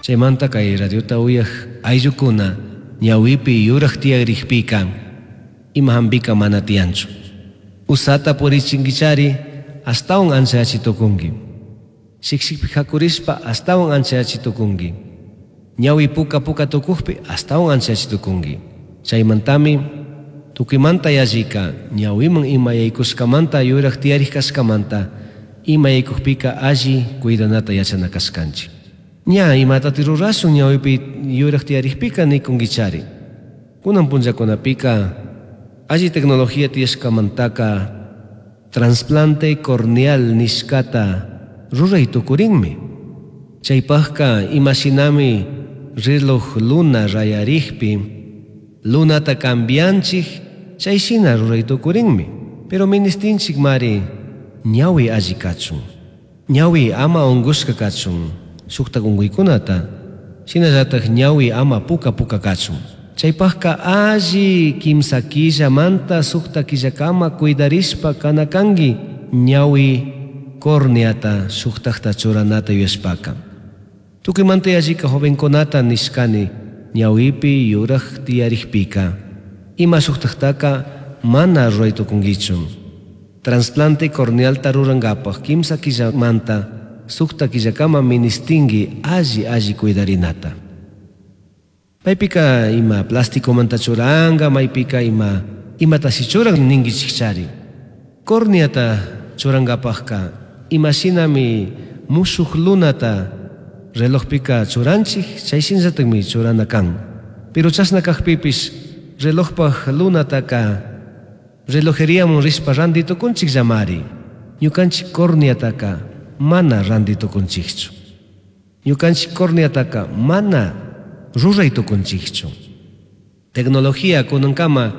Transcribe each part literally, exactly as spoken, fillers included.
Chaymanta kay radiota uyaj ayllukuna ñawipi yuraj tiyarikpika ima hampika mana tiyanchu. Usata purichinkichari astawan anchayachi tukunki. Shikshikpi hakurishpa astawan anchayachi tukunki. Ñawi puka puka tukukpi astawan anchayachi tukunki. Chaymantami tukuymanta yallika ñawiman ima yaykushkamanta yuraj tiyarik kashkamanta ima yaykukpika alli cuidanata yachana kashkanchik. Ña imatati rurashun ñawipi yuraj tiyarikpika nikunkichari. Kunan punllakunapika alli tecnología tiyashkamantaka trasplante corneal nishkata ruray tukurinmi. Chaypaqka imashinami reloj luna rayarikpi lunata cambianchik chayshina ruray tukurinmi. Pero ministinchik mari ñawi alli kachun. Ñawi ama unkushka kachun shuktak unkuykunata shinallatak ñawi ama puka puka kachun. Chaypaqka alli kimsa killamanta sukta killakama cuidarishpa kana kanki ñawi corneata shuktakta churanata yuyashpaka. Tukuymanta yallika jovenkunata nishkani ñawipi yuraj tiyarikpika ima shuktaktaka mana ruray tukunkichu. Trasplante cornealta rurankapaj kimsa killamanta sukta killakama ministinki alli alli cuidarinata. Maypika ima plasticomanta churanka, maypika ima imatashi churan ninkichikchari. Corneata churankapajka imashinami mushuk lunata relojpika churanchik, chayshinllatakmi churana kan. Pero chashna kakpipish relojpaj lunataka relojeriaman rishpa ranti tukunchik llamari. Ñukanchik corneataka mana ranti tukunchikchu. Ñukanchik corneataka mana ruray tukunchikchu. Tecnología kunankama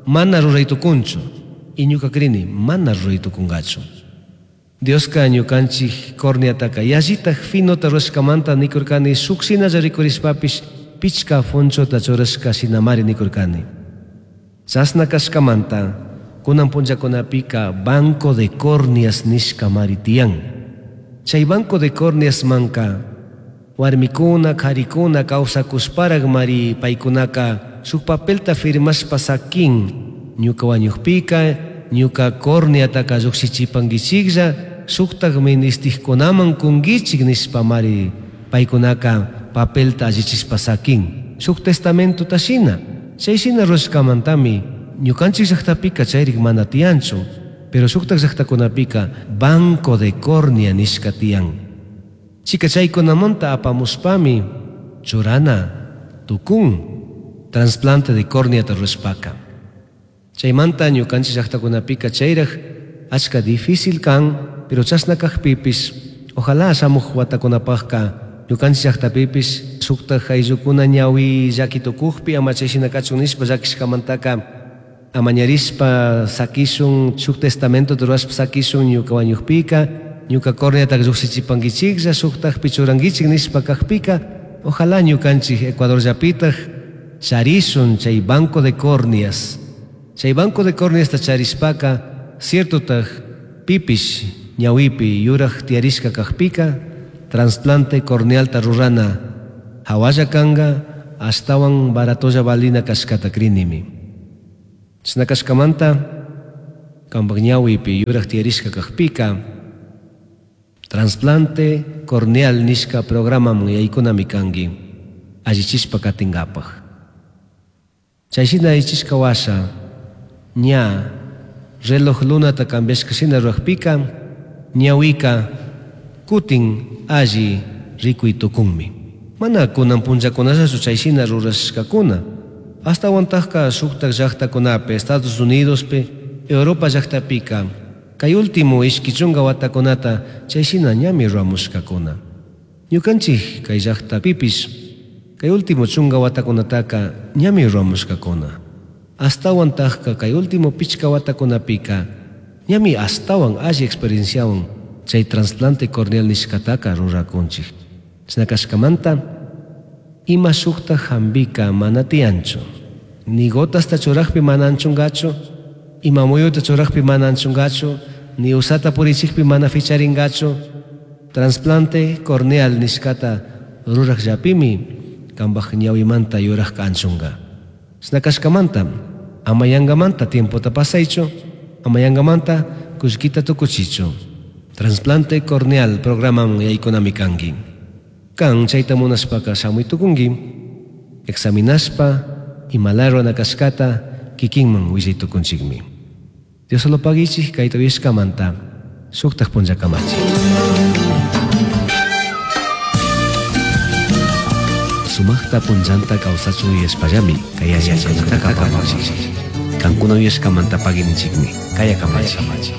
mana ruray tukunchu. Y ñuka krini mana ruray tukunkachu. Dioska ñukanchik corneataka yallitak finota rurashkamanta nikurkani shuk shinalla rikurishpapish pichka fonchota churashka shinamari nikurkani. Chashna kashkamanta kunan punllakunapika banco de córneas nishkamari tiyan. Chay banco de córneas manka warmikuna, karikuna kawsakushparak mari paykunaka shuk papelta firmashpa sakin ñuka wañukpika ñuka corneataka llukshichipankichiklla shuktak ministikkunaman kunkichik nishpa mari paykunaka papelta allichishpa sakin shuk testamentota shina. Chay shina rurashkamantami ñukanchik llaqtapika chayrik mana tiyanchu, pero shuktak llaqtakunapika banco de córnea nishka tiyan. Chika chaykunamanta apamushpami churana tukun trasplante de córneata rurashpaka. Chaymanta ñukanchik llaqtakunapika chayraj achka difícil kan, pero chashna kakpipish ojalá shamuj watakunapajka ñukanchik llaqtapipish shuktak ayllukuna ñawi llaki tukukpi ama chayshina kachun nishpa llakishkamantaka amañarishpa sakishun shuk testamento rurashpa sakishun ñuka wañukpika ñuka corneata llukshichipankichiklla shuktakpi churankichik nishpa kakpika ojalá ñukanchik Ecuador llapitaj charishun chay banco de córneas. Chay banco de córneasta charishpaka ciertotaj pipish ñawipi yuraj tiyarishka kakpika trasplante cornealta rurana hawalla kanka ashtawan baratolla valina kashkata krinimi. Chashna kashkamanta kampak ñawipi yuraj tiyarishka kakpika trasplante corneal nishka programaman yaykunami kanki allichishpa katinkapaj. Chayshina allichishka washa ña reloj lunata cambiashka shina rurakpika ñawika kutin alli rikuy tukunmi. Mana kunan punllakunallachu chayshina rurashkakuna. Ashtawantajka shuktak llaqtakunapi, Estados Unidospi, Europa llaqtapika kay último ishki chunka watakunata chayshina ñami ruramushkakuna. Ñukanchik kay llaqtapipish kay último chunka watakunataka ñami ruramushkakuna. Ashtawantajka kay último pichka watakunapika ñami ashtawan alli experienciawan chay trasplante corneal nishkataka rurakunchik. Chashna kashkamanta ima shukta hambika mana tiyanchu. Ni gotasta churakpi mana anchunkachu, ima muyuta churakpi mana anchunkachu, ni usata purichikpi mana ficharinkachu. Trasplante corneal nishkata Rurajllapimi cambaj ñahuimanta yurajca anchunga. Chashna cashcamanta ama yangamanta tiempota pasaichu, ama yangamanta cullquita tucuchichu. Trasplante corneal programaman yaykunami kanki. Kan chayta munashpaka shamuy tukunki, examinashpa imalaya rurana kashkata kikinman willay tukunchikmi. Dios lo paguichik kayta uyashkamanta shuktak punllakamachi. Sumaqta punllanta kawsachun yuyashpallami kay yachaykunataka apamunchik. Kankuna uyashkamanta paguininchikmi. Kaya kamachi.